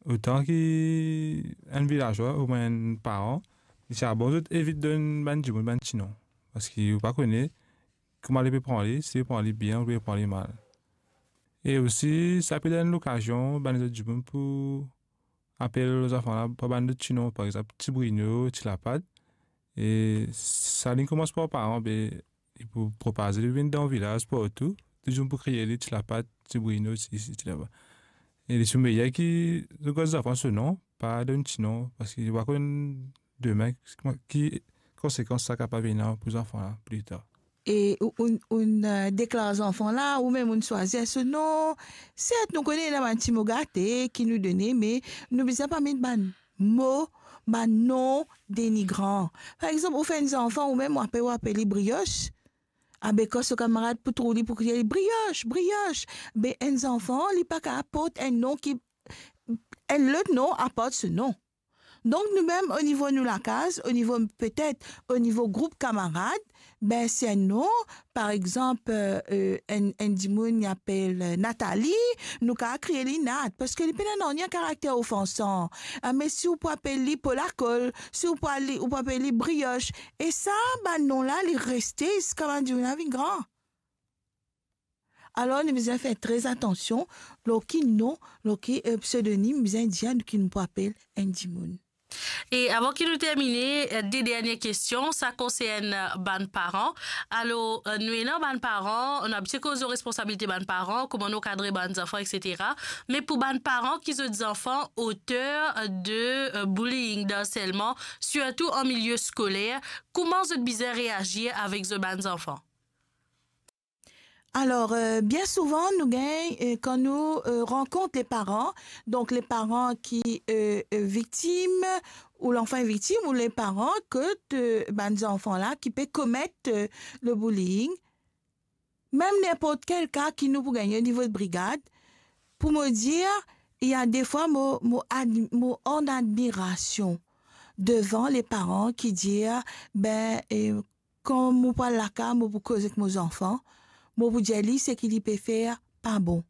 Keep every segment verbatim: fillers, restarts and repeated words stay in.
otan ki enn vilazwa oubien enn paran, li ti a bon zot evit donn bann dimoun bann ti nom. Parski ou pa kone kouma li pe pran li, si li pran li bien oubien li pran li mal. E osi, sa pe donn lokazion bann lezot dimoun pou apel zanfan la par bann lot ti nom, par exanp, ti Brino, ti Lapat. E sa li koumans par paran, be, li pou propaze, li vinn dan vilaz partou, tou dimoun pou kriye li, ti Lapat, ti Brino, ti, ti, ti Lapat. E li ti meyer ki zot gard zanfan so nom, pa donn ti nom, parski li pa konn demin ki, ki konsekans sa kapav ena pou zanfan la pli tar. E ou, ou, ou, eh, deklar zanfan la, oubien ou swazir so nom. Sert, nou kone ena bann ti mo gate ki nou done, me nou bizin pa met bann mo, bann nom denigran. Par exanp, ou fer enn zanfan, oubien ou apel, ou apel li Brioche. Abe, kan so kamarad pou trouv li, pou kriye li, "Brioche, Brioche!" Be, enn zanfan, li pa kapav port enn nom ki, enn lot nom apar so nom. Donk, nou mem, o nivo nou lakaz, o nivo, petet, o nivo group kamarad, be, si enn nom, par exanp, eh, eh, enn, enn dimoun, li apel, eh, Nathalie, nou kapav kriye li Nat, parski li pena nanye karakter ofansan. Ah, me si ou pou apel li Polakol, si ou pou al-, ou pou apel li Brioche, e sa, bann nom la, li reste ziska bann dimoun la vinn gran. Alor, nou bizin fer tre atansion lor ki nom, lor ki, eh, psedonim bizin dir nou ki nou pou apel enn dimoun. E avan ki nou termine, eh, de dernie kestion, sa konsern, eh, bann paran. Alor, eh, nou ena bann paran, nou abitie koz lor responsabilite bann paran, kouma nou kadre bann zanfan, et cetera. Me pou bann paran ki zot zanfan oter, eh, de, eh, bullying, d'harcèlement, sirtou an milie skoler, kouma zot bizin reazir avek zot bann zanfan? Alor, eh, bien souvan, nou gagn, eh, kan nou, eh, rankont le paran, donk le paran ki, eh, eh, viktim, ou lanfan viktim, ou le paran kot, eh, bann zanfan la ki pe komet, eh, le bullying, mem ninport kel ka ki nou pou gagne o nivo de brigad, pou mo dir, il y a des fois, mo, mo ad-, mo an admirasion devan le paran ki dir, be, eh, kan mo pou al lakaz, mo pou koz ek mo zanfan, mo pou dir li seki li pe fer pa bon.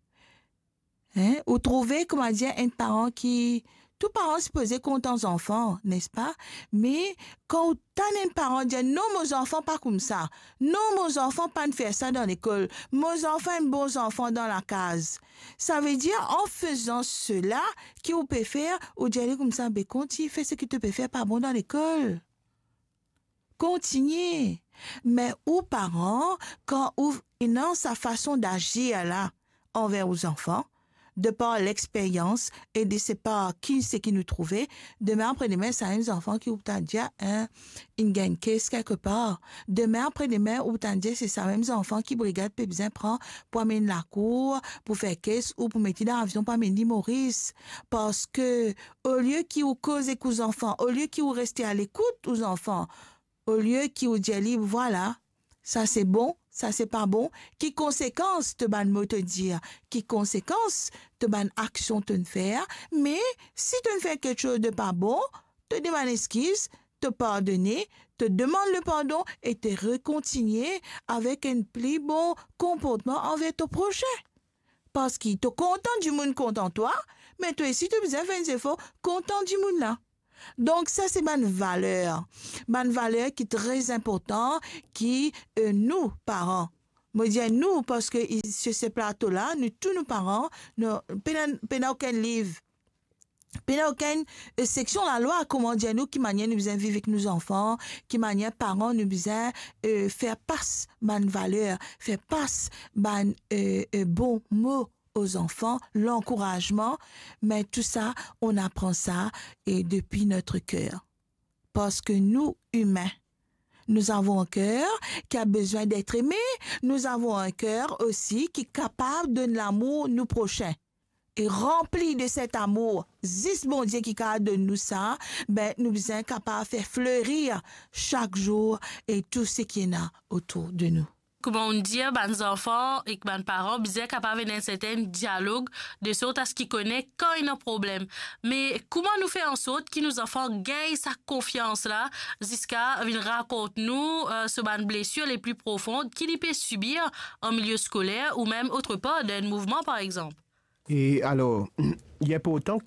Hein? Ou trouve, kouma dir, enn paran ki, tou paran sipoze kontan zanfan, nespa? Me kan ou tann enn paran dir, "Non, mo zanfan pa koumsa. Non, mo zanfan pa'nn fer sa dan lekol. Mo zanfan enn bon zanfan dan lakaz." Savedir, an fezan sela ki ou pe fer, ou dir li koumsa, "Be, kontign fer seki to pe fer pa bon dan lekol." Kontign. Me ou paran, kan ou ena sa fason dazir la anver ou zanfan, de par lexperyans e de se par ki, seki nou trouve, demin apre demin, sa mem zanfan ki ou pou tann dir, hein, inn gagn kes kelkepar. Demin apre demin, ou pou tann dir se sa mem zanfan ki brigad pe bizin pran pou amenn lakour, pou fer kes ou pou met li dan avion pou amenn li Moris. Parski olie ki ou koz ek ou zanfan, olie ki ou reste alekout ou zanfan, olie ki ou dir li, "Vwala, sa se bon, sa se pa bon," ki konsekans to bann mo to dir, ki konsekans to bann aksion to'nn fer, me si to'nn fer kiksoz de pa bon, to demann exkiz, to pardone, to demann lepardon e to rekontigne avek enn pli bon konportman anver to prosin. Parski to kontan dimoun kontan twa, me twa osi to bizin fer enn zefor kontan dimoun la. Donk, sa se bann valer. Bann valer ki tre inportan ki, eh, nou, paran. Mo dir nou, parski i-, sur se plato la, nou tou nou paran, nou, pena, pena okenn liv. Pena okenn, eh, seksion lalwa, kouma dir nou, ki manier nou bizin viv ek nou zanfan, ki manier paran nou bizin, eh, fer pas bann valer, fer pas bann, eh, eh, bon mo aux enfants, l'encouragement, mais tout ça, on apprend ça, eh, depuis notre cœur. Parce que nous, humains, nous avons un cœur qui a besoin d'être aimé, nous avons un cœur aussi qui est capable de donner l'amour au prochain. Et rempli de cet amour, zis Bondie ki kapav donn nou sa, ben, nou bizin kapav fer flerir chak zour e tou seki ena otour de nou. Kouma ou dir, bann zanfan ek bann paran bizin kapav ena enn sertin dialog, de sort a se ki kone kan ena problem. Me kouma nou fer ansort ki nou zanfan gagn sa konfians la, ziska vinn rakont nou, eh, so bann blesir le pli profon ki li pe sibir an milie skoler ou mem otrepar, dan enn mouvman, par exanp? E alor, li inportan